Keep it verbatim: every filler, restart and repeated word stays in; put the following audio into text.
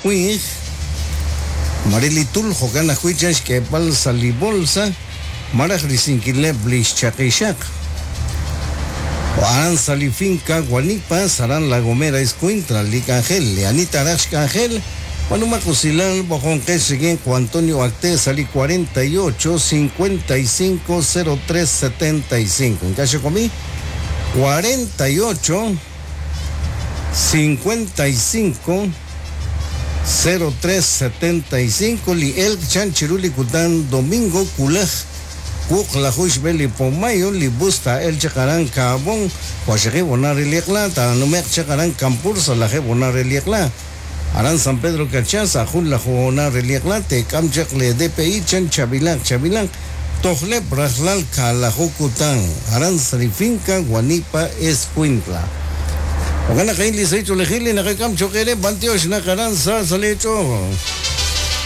winq Marilitul jo'kan ajwi' chan xk'eeb'al sa' li bolsa maraj risinkileb' li xchaqixaq. Aran sa' li finca Guanipa, Saran La Gomera, Escuintla, li k'anjel, li Anita raj xk'anjel, Manumaq usilal bojonqex rik'in Juan Antonio Acté sa' li cuarenta y ocho cincuenta y cinco cero tres setenta y cinco. Ink'a' xekomi cuarenta y ocho cincuenta y cinco cero tres setenta y cinco li elk chan chiru li kutan domingo kulaj wuq lajuy xb'e li pomayo li busta el chaqaran kaabon waxeqi bonar liqla ta numeq chaqaran kampur salaje bonar liqla aran San Pedro Cachaza jun la jona reliqla te kam chaq le D P I chan chabilan chabilan tojle brajlal kalajukutan aran srifinca Guanipa Escuintla. Ogana kain li secho lejili nakakam chokere bantiosh nakaran sa salecho.